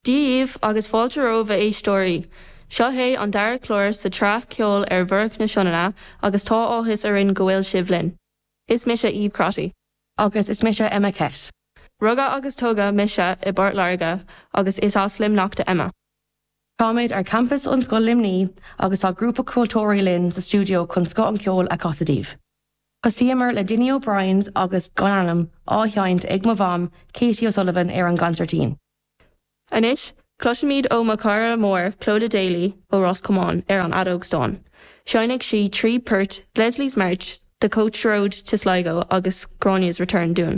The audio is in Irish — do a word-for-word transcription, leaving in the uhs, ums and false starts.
Dia dhaoibh agus fáilte romhaibh a éisteoirí. Seo é an dara clár sa tsraith ceol ar Mhuireach na Sionainne agus tá áthas orainn go bhfuil sibh linn. Is mise Eve Crotty. Agus is mise Emma Kett. Rugadh agus tógadh mise i bPort Láirge agus is as Luimneach d'Emma. Táimid ar campus Ollscoil Luimnigh agus tá grúpa ceoltóirí linn sa stiúideo chun scoth an cheoil a chasadh daoibh. Thosaíomar le Dinny O'Brien's agus gan ainm á sheinnt ag mo mham Katie O'Sullivan ar an gconsairtín. Anois, cloisfimid ó mo chara mór Clodagh Daly ó Ros Comáin ar an fheadóg stáin. Seinnfidh sí trí port Leslie's March, The Coach Road to Sligo agus Gráinne's Return dúinn.